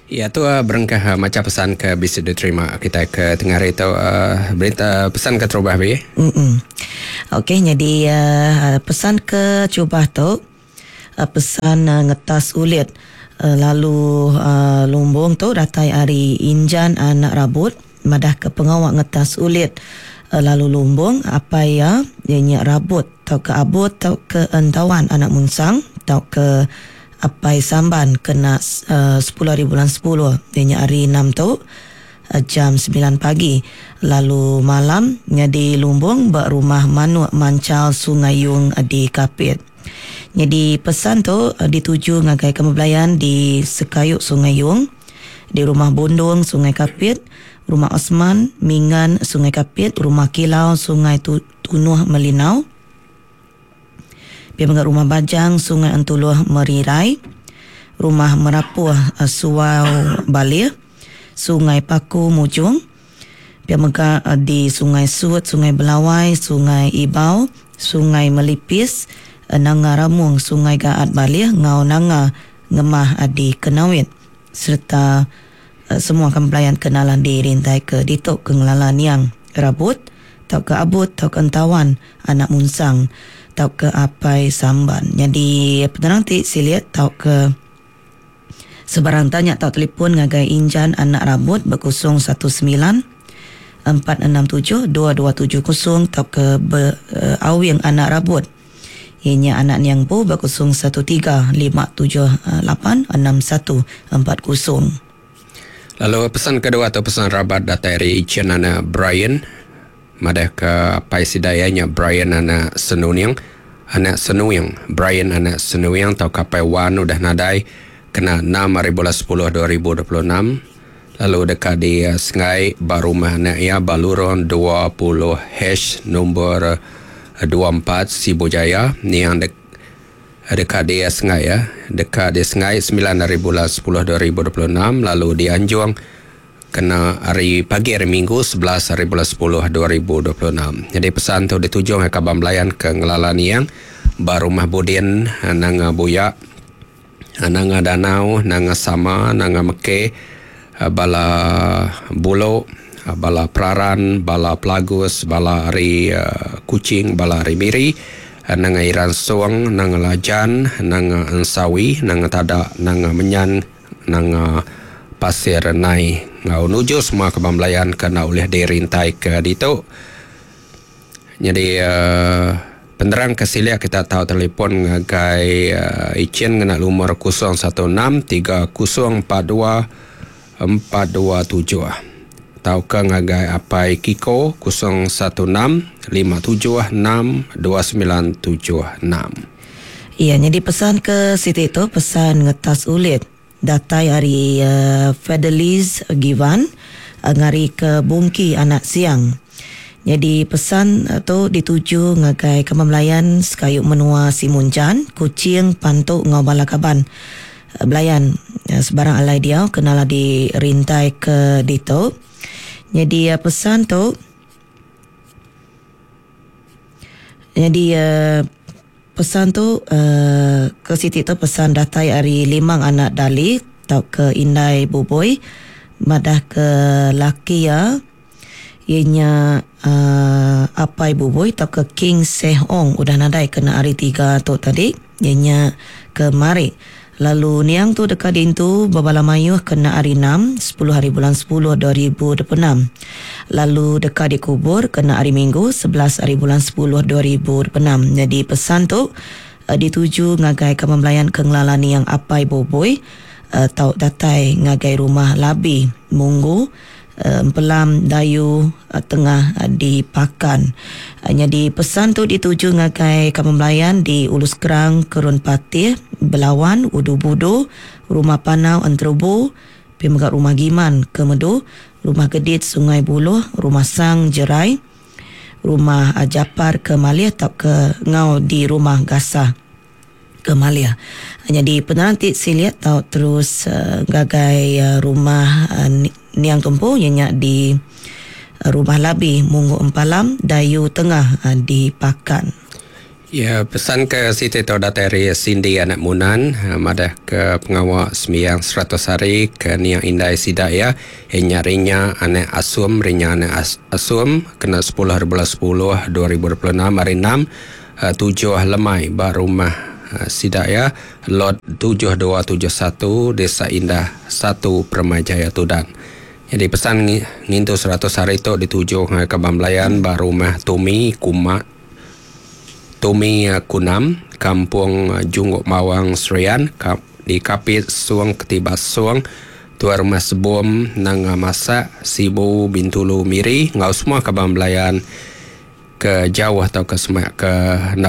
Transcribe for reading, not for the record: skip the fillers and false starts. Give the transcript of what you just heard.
Iya tu berengkah macha pesan ke bisi diterima kitai ke tengah hari tu berita pesan ke terubah bi. Mm. Okey nyadi pesan ke cubah tu pesan ngetas ulit lalu lumbung tu datai ari Injan anak Rabut madah ke pengawa ngetas ulit lalu lumbung apai iya iya nya Rabut tauka Abut tauka Entawan anak Munsang tauka Apai Samban kena sepuluh hari bulan sepuluh iya nya hari enam tu jam semilan pagi lalu malam nyadi lumbung ba Rumah Manuk Manchal Sungai Yung di Kapit. Nyadi pesan tu dituju ngagai kami belayan di Sekayu Sungai Yung, di Rumah Bundung Sungai Kapit, Rumah Osman, Mingan Sungai Kapit, Rumah Kilau Sungai Tunuh Melinau, Pia mega Rumah Bajang Sungai Entuluh Merirai, Rumah Merapuh Suau Balih, Sungai Paku Mujung, pia mega di Sungai Sut, Sungai Belawai, Sungai Ibau, Sungai Melipis, Nanga Ramung, Sungai Gaat Balih enggau Nanga Ngemah di Kenawit sereta semua kami belayan ke nalan di rintai ke ditu ke ngelala niang Rabut tauka Abut tauka Entawan anak Munsang tauka Apai Samban. Nyadi penerang ti silik tauka sebarang tanya tau telefon ngagai Injan anak Rabut ba 019 467 2270 tauka be Awing anak Rabut iya nya anak niang empu ba 013 578 6140. Lalu pesan kedua tu pesan rabat datai ari Ichin anak Brian madah ke apai sida iya nya Brian anak Senuning anak Senuing Brian anak Senuing tauka apai Wan udah nadai kena enam hari bulan sepuluh 2026 lalu deka di sengai ba rumah anak iya ba lurung 20 H nombor 24 Sibu Jaya niang dek Deka disengai ya. Deka disengai semilan hari bulan sepuluh 2026 lalu dianjung kena hari pagi hari Minggu 11 hari bulan sepuluh 2026. Jadi pesan tu dituju ngagai kaban belayan ke ngelala niang ba Rumah Budin Nanga Buya, Nanga Danau, Nanga Sama, Nanga Meke, bala Bulo, bala Peraran, bala Pelagus, bala ari Kuching, bala ari Miri, Nanga Iran Song, Nanga Lajan, Nanga Ensawi, Nanga Tada, Nanga Menyan, Nanga Pasir Nai enggau nuju semua kaban belayan ke enda ulih dirintai ke ditu. Nyadi penerang ke silik kita tau telefon ngagai Ichin ngena lumur 016 3042 427 tauka ngagai Apai Kiko 016 576 2976. Iya nyadi pesan ke siti tu pesan ngetas ulit datai ari Fedeliz Givan ngari ke Bungki anak Siang. Nyadi pesan tu dituju ngagai Kaban Belayan sekayu menua Simunjan, Kuching, Pantu enggau bala kaban Belayan sebarang alai diau ke nala di rintai ke ditu. Nyadi pesan tu nyadi pesan tu ke siti tu pesan datai ari Limang anak Dali tauka Indai Buboi madah ke laki iya iya nya Apai Buboi tauka King Seh Ong udah nadai kena hari tiga tu tadi iya nya kemari lalu niang tu deka diintu bebala mayuh kena hari enam sepuluh hari bulan sepuluh 2026 lalu deka dikubur kena hari minggu 11 hari bulan sepuluh 2026 nyadi pesan tu dituju ngagai kaban belayan ke ngelala niang Apai Boboi tau datai ngagai rumah Labi Munggu Empelam Dayu Tengah di Pakan. Nyadi pesan tu dituju ngagai kaban belayan di Ulu Skrang, Kerun Patih, Belawan, Udu Budu, Rumah Panau Enterubu, pia mega Rumah Giman, Kemedu, Rumah Gedit Sungai Buluh, Rumah Sang Jerai, Rumah Japar ke Malih tauka enggau di Rumah Gasah. Ke Malih. Nyadi penerang ti silik tau terus ngagai rumah niang tu empu iya nya di Rumah Labi, Munggu Empalam, Dayu Tengah di Pakan. Ya, pesan ke siti tu datai ari Cindy anak Munan madah ke pengawa sembiang 100 hari ke niang indai sida iya nya Rinya anak Asum Rinya anak Asum kena 10 hari bulan 10 2026 hari 6 7 lemai ba rumah sida iya lot 7271 Desa Indah 1 Permyjaya Tudan. Nyadi pesan ngintu 100 hari tu dituju ngagai kaban belayan ba rumah Tumi Kuma Tumi Kunam, Kampung Junggok Mawang Serian, di Kapit Sung Ketibas Sung, Tuai Rumah Sebom Nanga Masak, Sibu Bintulu Miri enggau semua kaban belayan ke jauh tauka semak ke enda.